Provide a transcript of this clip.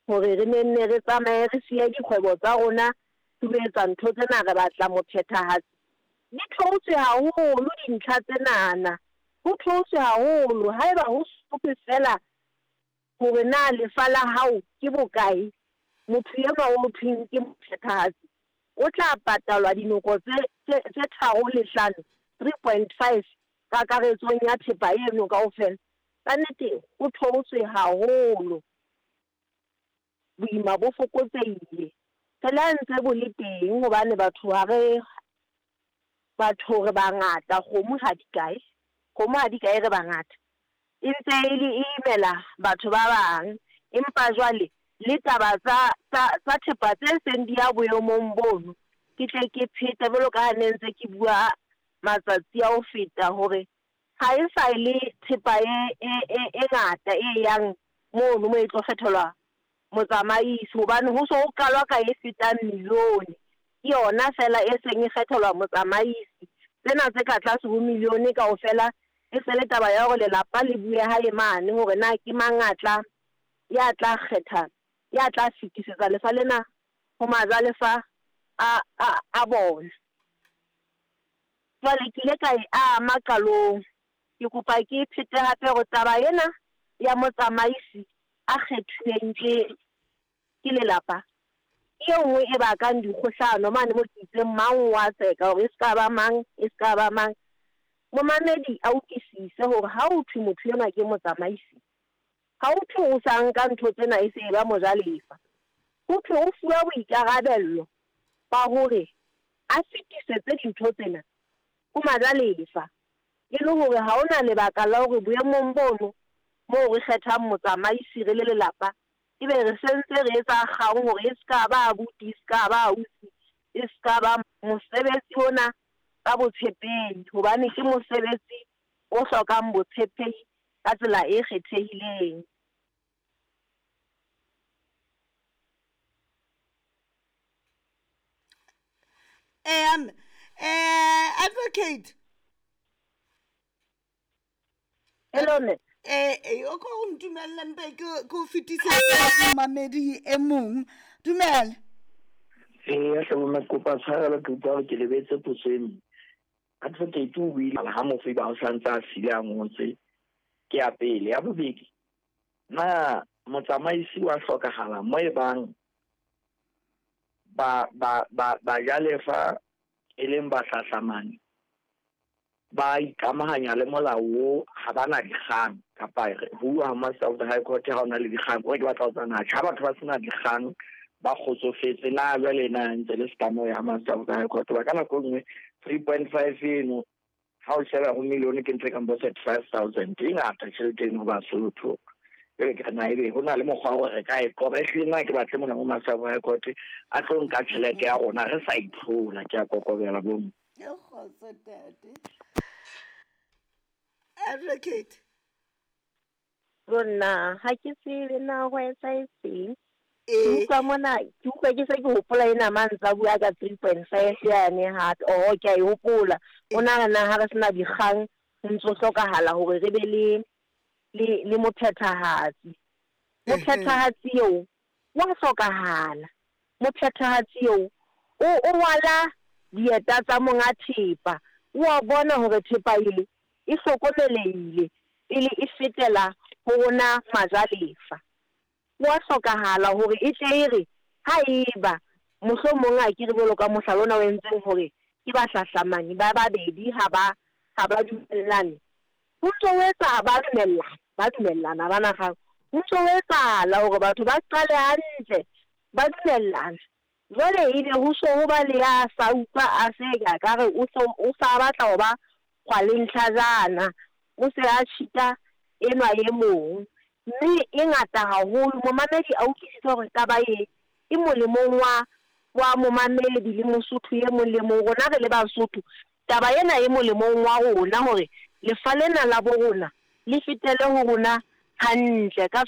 Hore re ne nne re tsamaye re siye dikgwebo tsa rona re lo etsa ntho tsena re batla mophethahatsi. Di theotswe haholo dintlha tsenana, ho theotswe haholo. Haeba ho sothwe feela hore na lefa la hao ke bokae, motho enwa o thweng ke mophethahatsi o tla patalwa dinoko tse tse tse tharo le hlano, 3.5, kakaretsong ya thepa eno kaofela. Ka nnete ho theotswe haholo. Boima bo fokotsehile. Re le ha ntse bo le teng hobane batho ha re batho re bangata kgomo ha di kae, kgomo ha di kae re bangata. E ntse e le e imela batho ba bang, empa jwale le taba tsa tsa tsa thepa tse seng di ya boemong bono, ke tle ke phete jwalo ka ha ne ntse ke bua matsatsi a ho feta hore ha e sa le thepa e e e e ngata e yang mono moo e tlo kgethelwa motsamaisi hobane ho so ho qalwa ka e fetang milione. Ke yona feela e seng e kgethelwa motsamaisi. Tsena tse ka tlase ho milione kaofela e se le taba ya hore lelapa le bue hae mane hore na ke mang a tla ya tla kgetha ya tla fetisetsa lefa lena ho majalefa a a a bona. Jwale ke ile ka e ama qalong. Ke kopa ke e phete hape hore taba ena ya motsamaisi a kgethuweng ke ke lelapa ke e nngwe e bakang dikgohlano mane mo ke itseng mang o a tseka hore e se ka ba mang, e se ka ba mang. Momamedi a utlwisise hore ha ho thwe motho enwa ke motsamaisi, ha ho thwe o sa nka ntho tsena e se e ba mojalefa. Ho thwe o fuwa boikarabello ba hore a fetisetse dintho tsena ho majalefa e le hore ha ho na lebaka la hore boemong bono moo re kgethang motsamaisi re le lelapa ebe re se ntse re etsa kgang hore e se ka ba abuti, e se ka ba ausi, e se ka ba mosebetsi ona ka botshepehi hobane ke mosebetsi o hlokang botshepehi ka tsela e kgethehileng. Eya mme. Advocate. Hello mme. Eh, o ko o ntumelle mpe ke ke o fetisetsa momamedi e mong. Dumela. Eya hle bomme ke kopa tshwarelo ke utlwa hore ke lebetse potso e nngwe. Advocate o buile ha mofi ba o santse a sile a ngotse ke ya pele. Ya bobedi, na motsamaisi wa hlokahala mo e bang ba ba ba bajalefa e leng bahlahlamane ba ikamahanya le molao wo ha ba na dikgang kapa who are master of the high court ha ona le dikgang o ke batla ho tsana ha batho ba sena dikgang ba kgotsofetse na jwale na ntse le setlamo ya master of the high court ba ka nako e nngwe 3.5 eno ha o sheba ho millione ke ntho e kang bo 35,000 e ngata tjhelete eno ho Basotho. Jwale ke re na ebe ho na le mokgwa wa hore re ka e qoba. Ehlile nna ke batle mona mo Master of High Court a tlo nka tjhelete ya rona re sa itlhola. Ke a kokobela bomme. Kgotso ntate. Advocate. Jo nna ha ke tsebe na ho etsahetseng. Ke utlwa mona, ke utlwa ke se ke hopola ena mang tsa bua ka 3.5 yane hape. Oho, ke a e hopola. O nahana ha re sena dikgang ho ntso hlokahala hore re be le le le mophethahatsi. Mophethahatsi eo wa hlokahala. Mophethahatsi eo o o rwala dieta tsa monga thepa. O a bona hore thepa e e hlokomelehile pele e fetela ho rona majalefa. Ho a hlokahala hore e tle e re ha eba mohlomong a ke re jwalo ka mohlala ona o entseng hore ke bahlahlamani ba babedi ha ba ha ba dumellane, ho ntso ho etsa ba dumellana, ba dumellana ha ba na kgang. Ho ntso ho etsahala hore batho ba qale hantle ba dumellana, jwale ebe ho so ho ba le ya sa utlwa a se ka ka re o so o sa batla ho ba kgwalentlhajana, o se a cheat-a enwa e mong. Mme e ngata haholo. Momamedi a utlwisise hore taba e e molemong wa wa momamedi le Mosotho e mong le mong. Rona re le Basotho, taba ena e molemong wa rona hore lefa lena la bo rona le fetele ho rona hantle ka.